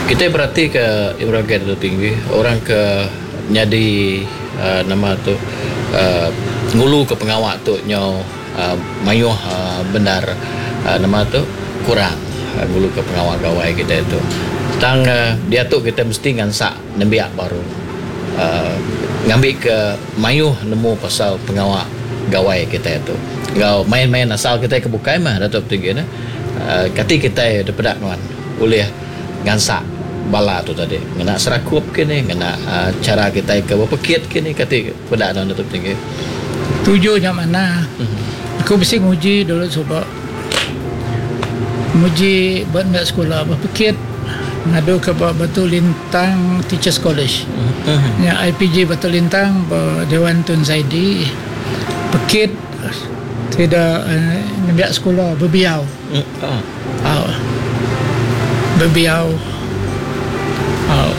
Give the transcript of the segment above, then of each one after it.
Kitai beratika Ibrahim tu tinggi orang ke nyadi uhh nama tu uhh nguluka pengawa tu nyau uhh mayuh uhh bendar uhh nama tu kurang nguluka pengawa gawai kitai tu. Tang diatu kitai mesti ngansak nembiak baru uhh ngambika mayuh nemu pasal pengawa gawai kitai tu enggau main-main asal kitai ke bukai mah Datuk Tinggi ne. Uhh kati kitai dipeda nuan ulih ngansak bala tu tadi ngena serakup ke ni ngena chara kitai ke bepekit ke ni kati peda nuan Datuk Tinggi. Tuju nya manah. Aku bisi nguji dulu suba nguji ba enda sekula bepekit ngadu ke ba Batu Lintang Teachers College. Nya IPG Batu Lintang ba Dewan Tun Zaidi pekit sida nembiak sekula bebiau. Au. Bebiau. Au.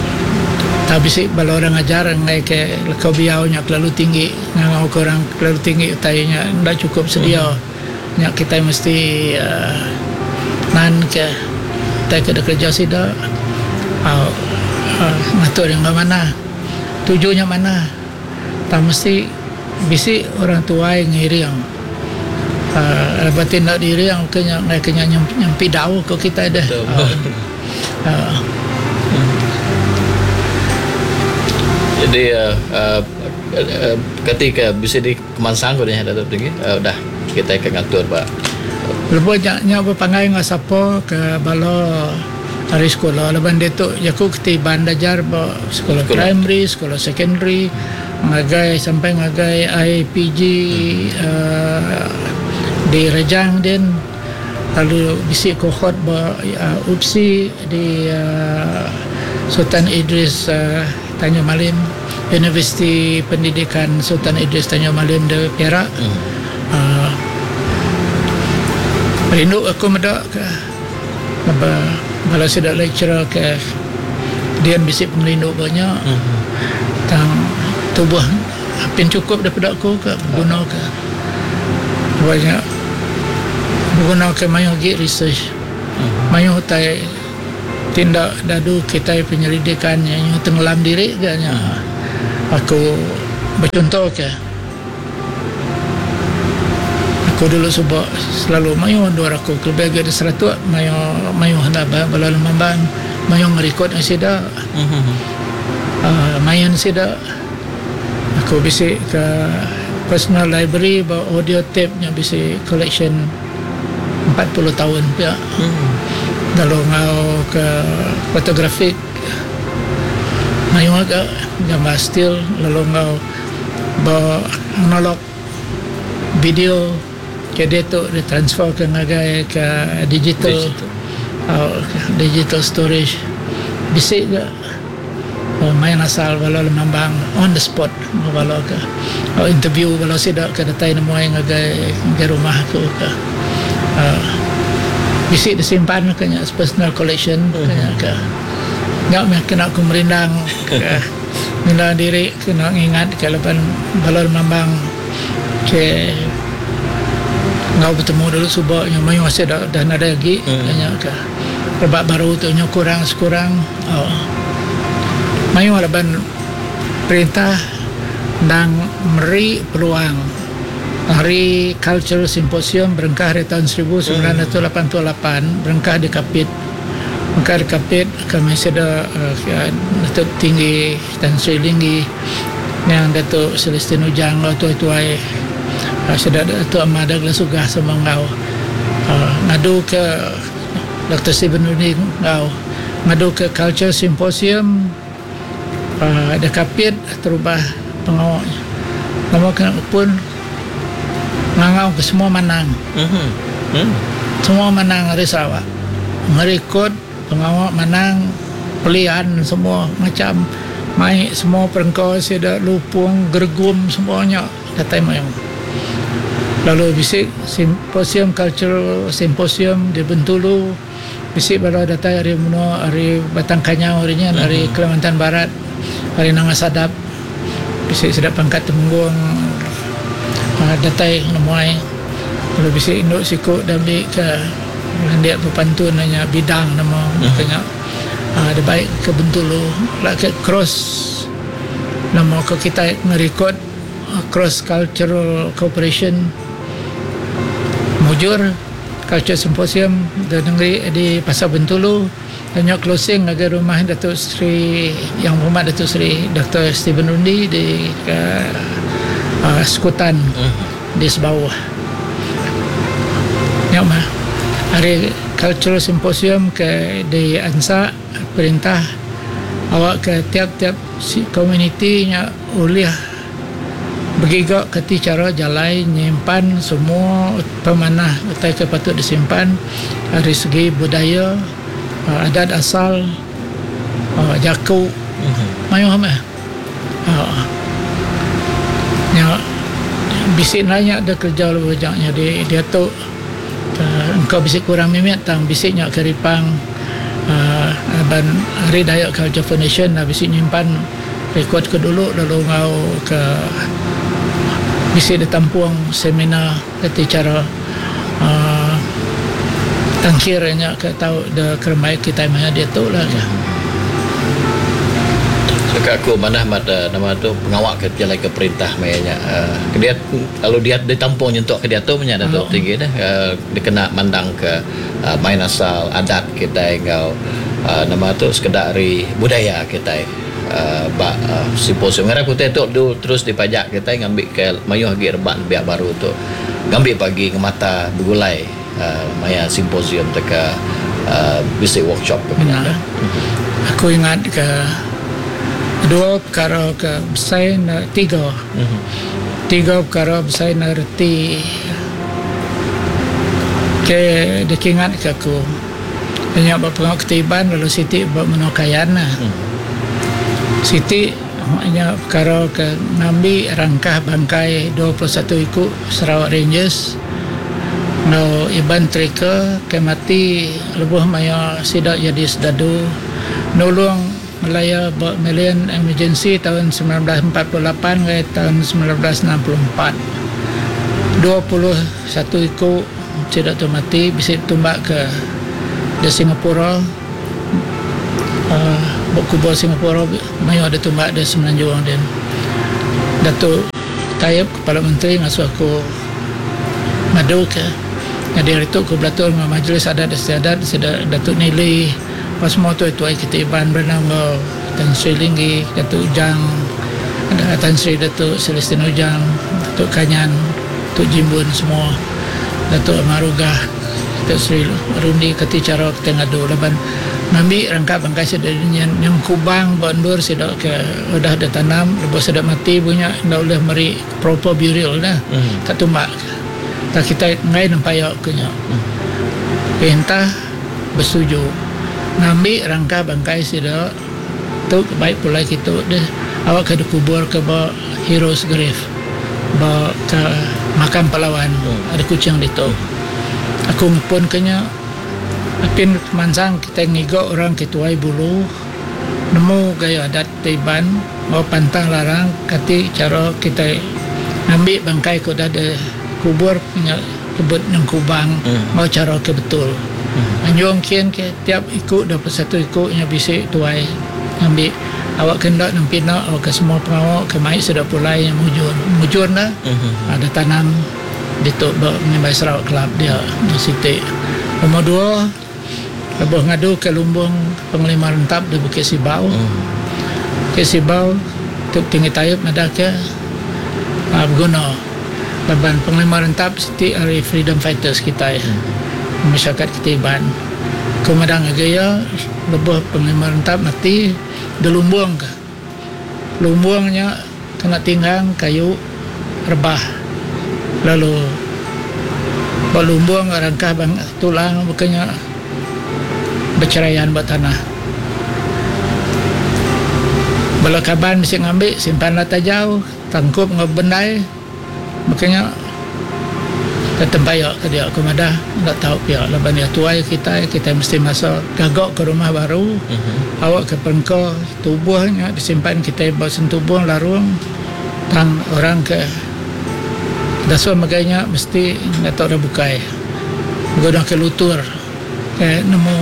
Tau bisi bala orang ngajar enggai ke leka biau nya kelalu tinggi ngangau ke orang kelalu tinggi utai nya enda chukup sedia. Nya kitai mesti uhh nan ke utai ke dikereja sida au uhh ngatur iya enggau manah. Tuju nya manah. Tang mesti bisi orang tuai ngiring uhh laban ti enda diiring ke nya ngagai ke nya nyempi dau ko kitai deh. Uhh. Jadi uhh kati ke bisi dikemansang ko deh Datuk Tinggi udah kitai ke ngatur ba. Lebuh nya nya bepanggai enggau sapa ke bala ari sekula laban ditu jaku keti Iban dajar ba sekula primary, sekula secondary ngagai sampai ngagai IPG uhh di Rejang din lalu bisi cohort ba UPSI di uhh Sultan Idris uhh Tanjung Malim Universiti Pendidikan Sultan Idris Tanjung Malim di Perak uhh rindu aku meda ka. Ba bala sida lecturer ke dian bisi pengerindu ba nya tang tubuh apin chukup daripada aku ke beguna ke ba nya beguna ke mayuh agi research mayuh utai ti enda dadu kitai penyelidikan nya tenggelam diri ga nya aku bechunto ke. Aku dulu suba selalu mayuh endur aku kelebih agi di Saratok mayuh mayuh enda bala lemambang mayuh ngerikod enggau sida uhh main sida aku bisi ke personal library ba audio tape nya bisi collection 40 taun pia lalu enggau ke photographic mayuh ga gambar still lalu enggau Ba analog video ke diatu ditransfer ke ngagai ke digital digital storage bisi ga main asal bala lemambang on the spot bala ke interview bala sida ke datai nemuai ngagai ngagai rumah aku ke uhh bisi disimpan ke nya personal collection ke nya ke nya meh kena ku merindang ke. Ngena diri kena ngingat ka laban bala lemambang ke enggau betemu dulu suba nya mayuh sida dah nadai agi nya ka rebak baru tu nyau kurang sekurang uhh mayuh laban perintah endang meri peluang hari cultural symposium berengkah ari taun 1988 berengkah di Kapit. Mega di Kapit kami sida Datuk Tinggi Tan Sri Linggi niang Datuk Celestine Ujang enggau tuai-tuai sida Datuk Amar Douglas Uggah sama enggau ngadu ke Doktor Stephen Rundi enggau ngadu ke Culture Symposium di Kapit terubah pengawa nama kena pun Ngangau ke semua manang. Semua manang ari Sarawak. Ngerikod pengawa manang pelian semua macam mai semua perengka sida lupung geregum semua nya datai mayuh. Lalu bisi simposium cultural simposium di Bentulu bisi bala datai ari menua ari Batang Kanyau ari nyin ari Kalimantan Barat ari Nanga Sadap bisi sida pangkat Temenggung uhh datai nemuai lalu bisi indu siku da ambi ka landik bepantun iya nya Bidang nama ke nya. Dibai ke Bentulu ke cross nama ko kitai ngerikod cross cultural cooperation mujur culture symposium di nengeri di pasar Bentulu nya closing ngagai rumah Dato Sri Yang Berhormat Dato Sri Doktor Stephen Rundi di uh, Sekutan di Sebauh. Nya mah ari cultural symposium ke di ansa perintah awak ke tiap-tiap komuniti nya ulih begiga ke ti chara jalai nyimpan semua pemanah utai ke patut disimpan ari segi budaya, adat asal, jaku mayuh meh. Nya bisi nanya da kereja lalu aja nyadi diatu engka bisi kurang mimit tang bisi nya ke ripang laban ari Dayak Culture Foundation bisi nyimpan rekod ke dulu lalu enggau ke bisi ditampung seminar reti chara uhh tangkir nya ke tau da kerembai kitai maya diatu lah ka. Saka aku manah amat nama tu pengawa ke pejalaika perintah maya nya uhh ke lalu dia ditampung nyentuk ke diatu meh nya Datuk Tinggi deh uhh dikena mandangka uhh main asal adat kitai enggau uhh nama tu sekeda ari budaya kitai. Ba simposium ngarap utai tu terus dipajak kitai ngambika mayuh agi rebak nembiak baru tu ngambi pagi ngemata begulai maya simposium tauka bisi workshop ke menya tu. Aku ingat ke dua pekara ke besai ne tiga. Tiga pekara besai ne reti ke dikingat ke aku. Nya ba pengawa ketiban lalu siti ba menua Kayan. Siti nya pekara ke ngambi rangkah bangkai 21 iku Sarawak Rangers enggau Iban Tracker ke mati lebuh maya sida jadi sedadu nulung Malaya ba Malayan Emergency taun 1948 ngagai taun 1964. 21 iku Sida tu mati bisi tumbak ke di Singapura uhh ba kubur Singapura mayuh da tumbak da Semenanjung din. Datuk Taib Kepala Menteri ngasuh aku ngadu ke nyadi hari tu aku belatur enggau Majlis Adat Istiadat sida Datuk Nili ba semua tuai tuai kitai Iban Berenang enggau Tan Sri Linggi, Datuk Ujang, Tan Sri Datuk Celestine Ujang, Datuk Kanyan. Tu Jimbun semua Datuk Amar Uggah Datuk Seri Rundi kati chara kitai ngadu laban ngambi rangka bangkai sida nyin nyengkubang ba endur sida ke udah ditanam lebuh sida mati bu nya enda ulih meri proper burial dah ka tumbak ka kitai enggai nempaya ke nya. Perintah besetuju ngambi rangka bangkai sida tu baik pulai kitu deh awak ke dikubur ke ba Heroes Grave. Ba ka makam Palawan ari Kuching ditu. Aku ngepun ke nya apin mansang kitai ngiga orang ke tuai bulu nemu gaya adat Iban enggau pantang larang kati chara kitai ngambi bangkai ke udah dikubur nya tebut nyengkubang enggau chara ke betul. Anjung kin ke tiap iku 21 iku nya bisi tuai ngambi. Awak ke enda nempina awak ke semua pengawa ke mai sida pulai nya mujur. Mujur enda ada tanam ditu ba Ngimbai Sarawak Club dia di siti. Nombor dua lebuh ngadu ke lumbung Pengelima Rentap di Bukit Sibau. Bukit Sibau tu Tinggi Taib madah ke beguna laban Pengelima Rentap siti ari freedom fighters kitai masyarakat kitai Iban. Ku madah ngagai iya, lebuh Penglima Rentap mati dilumbungka. Lumbung nya kena tinggang kayu rebah lalu ba lumbung rangkah tulang baka nya becherayan ba tanah. Bala kaban bisi ngambi simpan la tajau tangkup enggau bendai. Baka nya ke tempaya ke dia ke madah enda tau pia laban iya tuai kitai, kitai mesti masa gaga ke rumah baru awak ke perengka tubuh nya disimpan kitai ba sentubung larung tang orang ke dasuh megai nya mesti enda tau orang bukai beguna ke lutur ke nemu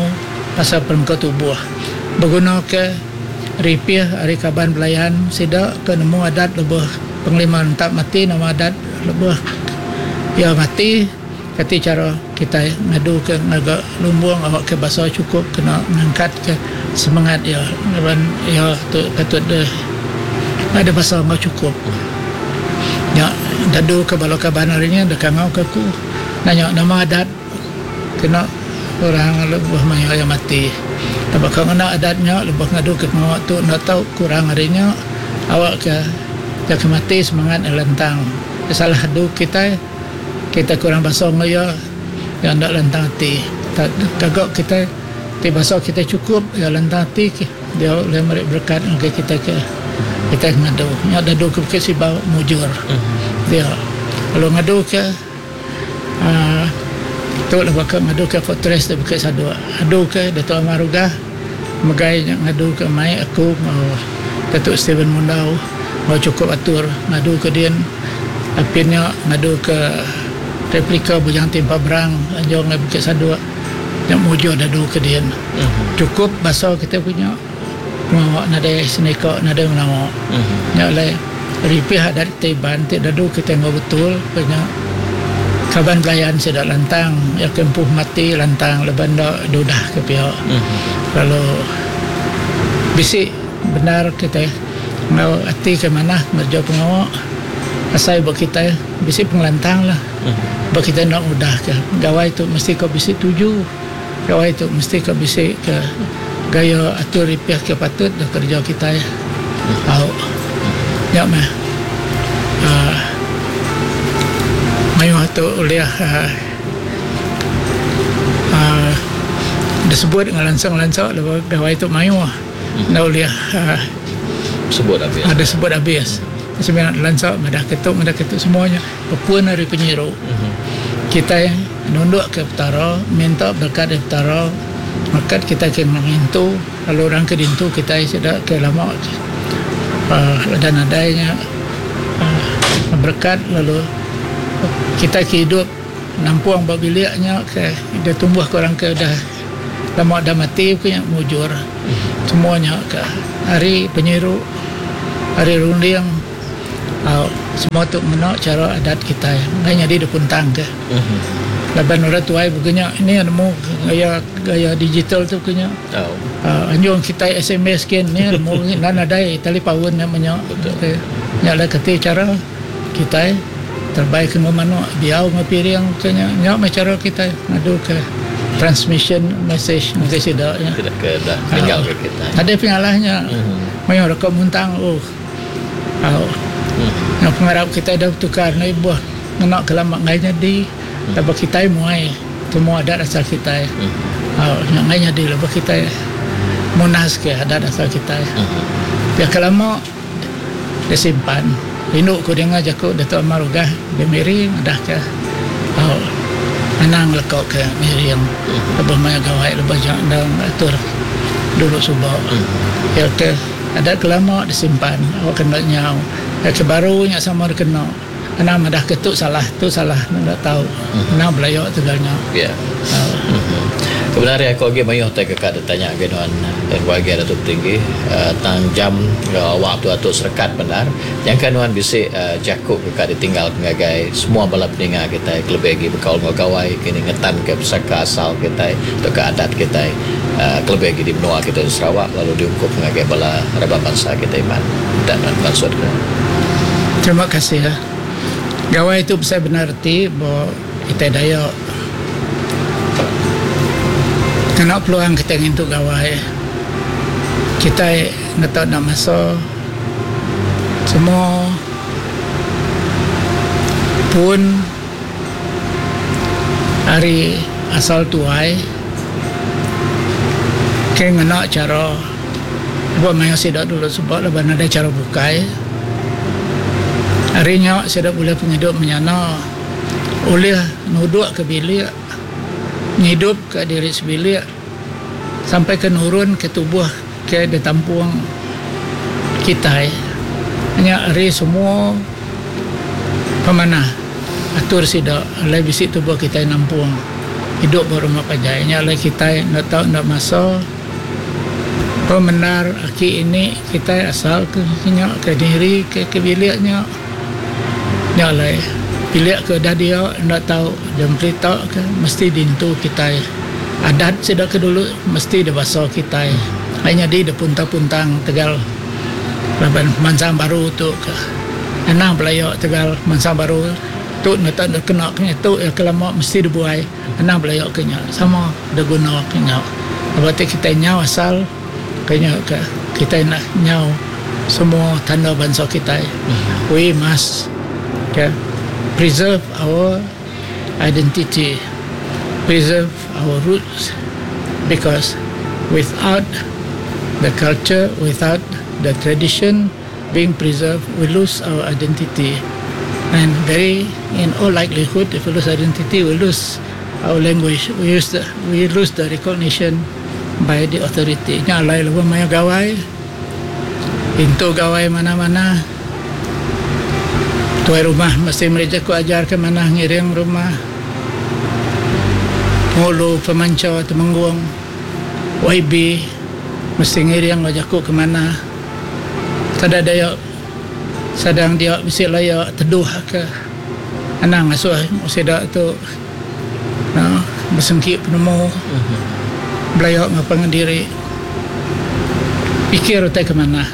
pasal perengka tubuh. Begunaka ripih ari kaban belayan sida ke nemu adat lebuh Penglima Rentap mati nama adat lebuh iya mati kati chara kitai ngaduka ngaga lumbung awakka basa chukup kena ngangkatka semengat iya laban iya tu patut deh ada basa enggau chukup. Nya daduka bala kaban ari nya deka ngauka aku nanya nama adat. Kena orang lebuh maya iya mati. Tang baka ngena adat nya lebuh ngaduka pengawa tu enda tau kurang ari nya awakka iya ke mati semangat iya lantang. Iya salah adu kitai, kitai kurang basa enggau iya, iya enda lantang ati. Gaga kitai ti basa kitai chukup iya lantang ati dia ulih meri berekat ngagai kitai ke kitai ngadu. Nya dadu ke Bukit Sibau mujur dia. Lalu ngadu ke. Aaa tu lah baka ngadu ke fortress da Bukit Sadok. Adu ke Datuk Amar Uggah megai nya ngadu ke mai aku enggau Datuk Stephen Mundau enggau chukup atur ngadu ke din. Apin nya ngadu ke replika Bujang Timpa Berang anjung ngagai Bukit Sadok nya mujur dadu ke din. Chukup basa kitai punya pengawa nadai senika nadai menawa. Nya alai. Ripih adat kitai Iban ti dadu kitai enggau betul ke nya kaban belayan sida lantang iya ke empu mati lantang laban enda dudah ke pia lalu bisi bendar kitai enggau ati ke manah ngereja pengawa asai ba kitai bisi pengelantang lah ba kitai enda mudah ke gawai tu mesti ka bisi tuju gawai tu mesti ka bisi ke gaya atur ripih ke patut da kereja kitai tau. Nya meh uhh mayuh tu ulih uhh disebut ngelansa ngelansa laban gawai tu mayuh enda ulih uhh disebut abis. Semina lansa madah ke tu madah ke tu semua nya bepun ari penyiru kitai nunduk ke Petara minta berekat ari Petara merekat kitai ke ngintu. Lalu orang ke dintu kitai sida ke lama uhh udah nadai nya uhh berekat lalu kitai ke idup nampung ba bilik nya ke udah tumbuh ke orang ke udah lama udah mati ku nya mujur semua nya ke ari penyiru ari runding uhh semua tu ngena chara adat kitai enggai nyadi dikuntang ke. Laban orang tuai buka nya ini nemu gaya gaya digital tu buka nya. Uhh anjung kitai sms kin ni nemu nan nadai talipaun nya menya. Nya alai keti chara kitai terebai ke enggau manuk diau enggau piring buka nya. Nya meh chara kitai ngadu ke transmission message ngagai sida nya. Nadai penyalah nya mayuh reka muntang uhh. Au. Enggau pengarap kitai dau betukar enda ibuh ngena ke lama enggai nyadi laban kitai muai semua adat asal kitai. Au nya enggai nyadi laban kitai munas ke adat asal kitai. Pia ke lama disimpan rindu ku dinga jaku Datuk Amar Uggah di Miri madah ke au anang leka ke miring lebuh maya gawai lebuh ja endang atur dulu suba. Pia ke. Adat ke lama disimpan awak ke enda nyau. Adat ke baru nya sama dikena. Anang madah ke tu salah, tu salah enda tau. Anang belaya tegal nya. Ya. Kebenar iya aku agi mayuh utai ke ka ditanya agi nuan RYG Datuk Tinggi tang jam enggau awak tu atu serekat bendar. Nyangka nuan bisi jaku ke ka ditinggal ke ngagai semua bala peninga kitai kelebih agi bekaul enggau gawai kini ngetanka pesaka asal kitai tauka adat kitai. Kelebih agi di menua kitai di Sarawak lalu diungkup ngagai bala raban bansa kitai Iban. Minta nuan mansut ke. Terima kasih. Gawai tu besai bendar reti ba kitai Dayak. Ngena peluang kitai ngintu gawai, kitai ngeto enda masa semua pun ari asal tuai ke ngena chara lebuh maya sida dulu suba laban nadai chara bukai. Ari nya sida bulih pengidup menyana ulih nuduk ke bilik ngidup ka diri sebilik sampai ke nurun ke tubuh ke ditampung kitai. Nya ari semua pemanah atur sida alai bisi tubuh kitai nampung idup ba rumah panjai. Nya alai kitai enda tau enda masa. Pemendar aki ini kitai asal ke nya ke diri ke ke bilik nya. Nya alai bilik ke udah dia enda tau dempelita ke mesti diintu kitai. Adat sida ke dulu mesti dibasa kitai. Ai nyadi depuntang-puntang tegal laban mansang baru tu ke anang belaya tegal mansang baru tu enda tau kena ke nya tu iya ke lama mesti dibuai. Anang belaya ke nya sama deguna ke nya. Lebuh ti kitai nyau asal ke nya ke kitai enda nyau semua tanda bansa kitai. We must ke preserve our identity, preserve our roots because without the culture, without the tradition being preserved, we lose our identity and very in all likelihood if we lose identity we lose our language we use the we lose the recognition by the authority nya alai lebuh maya gawai intu gawai manah-manah tuai rumah mesti meri jaku ajar ke manah ngiring rumah ngulu pemancha temenggung YB mesti ngiring enggau jaku ke manah. Sada daya sadang dia bisi laya teduh ke anang ngasuh sida tu uhh besengki penemu belaya enggau pangan diri pikir utai ke manah.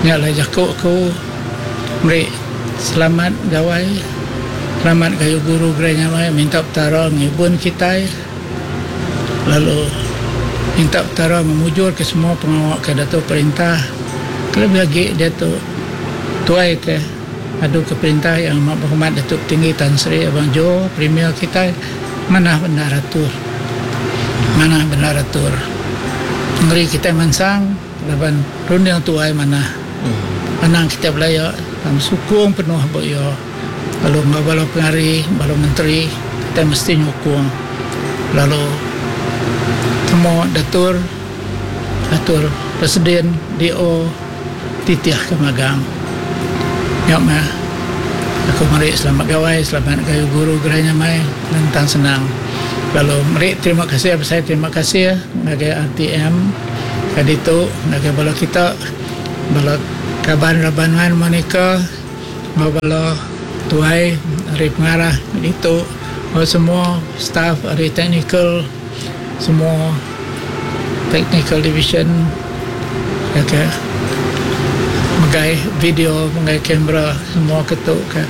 Nya alai jaku aku meri selamat gawai selamat gayu guru gerai nyamai minta petara ngibun kitai. Lalu minta Petara ngemujurka semua pengawa ke diatu perintah kelebih agi diatu tuai ke adu ke perintah Yang Amat Berhormat Datuk Tinggi Tan Sri Abang Jo Premier kitai manah bendar atur manah bendar atur nengeri kitai mansang laban runding tuai manah anang kitai belaya tang sukung penuh ba iya. Lalu enggau bala pengari, bala menteri kitai mesti nyukung lalu temu datur atur presiden DO titih ke magang. Nya meh aku meri selamat gawai, selamat gayu guru gerai nyamai lantang senang. Lalu meri terima kasih besai terima kasih ngagai RTM ke ditu ngagai bala kita bala kaban raban Monica. Enggau bala tuai ari pengarah ditu enggau semua staff ari technical semua technical division ke megai video megai kamera semua ke tu ke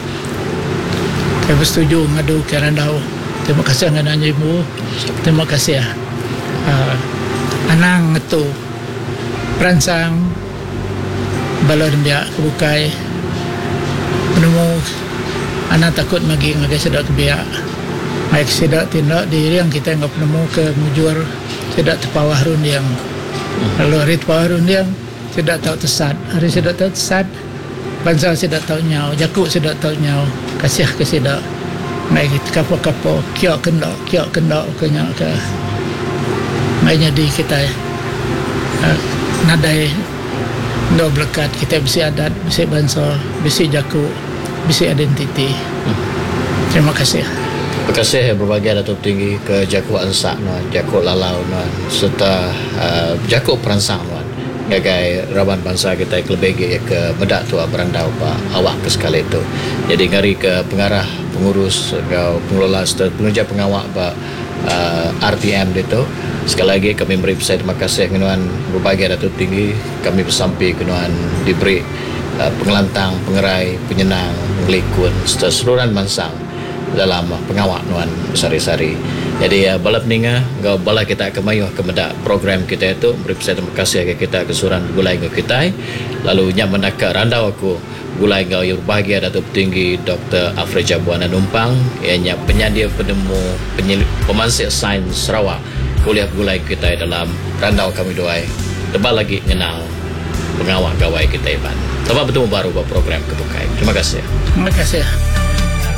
ke besetuju ngadu ke randau. Terima kasih ngagai ibu terima kasih uhh anang ngetu peransang. Bala nembiak ke bukai penemu anang takut magi ngagai sida ke biak. Mai ke sida ti enda diiring kitai enggau penemu ke mujur sida tepawah runding. Lalu ari tepawah runding sida tau tesat. Ari sida tau tesat bansa sida tau nyau, jaku sida tau nyau. Kasih ke sida mai kapo-kapo kiok ke enda kiok ke enda ke nya ke mai nyadi kitai. Nadai enggau belekat kitai bisi adat, bisi bansa, bisi jaku, bisi identiti. Terima kasih. Terima kasih berbagai Datuk Tinggi ke jaku ansak nuan, jaku lalau nuan sereta jaku peransang nuan ngagai raban bansa kitai kelebih agi ke meda tua berandau ba awak ke sekali tu. Nyadi ngari ke pengarah, pengurus enggau pengelola sereta pengereja pengawa ba RTM ditu. Sekali agi kami meri besai terima kasih ngenuan berbagai Datuk Tinggi. Kami besampi ke nuan diberi pengelantang, pengerai, penyenang, pengelikun sereta seruran mansang dalam pengawa nuan besehari-sehari. Nyadi bala peninga enggau bala kita ke mayuh ke meda program kitai tu meri besai terima kasih ngagai kita ke seruran begulai enggau kitai lalu nya mendaka randau aku. Begulai enggau iya berbahagia Datuk Petinggi Doktor Alfred Jabuan Numpang iya nya penyadir penemu pemansik sains Sarawak ke ulih begulai kitai dalam randau kami duai tebal agi ngenang pengawa gawai kitai Iban. Selamat betemu baru ba program ke bukai. Terima kasih. Terima kasih.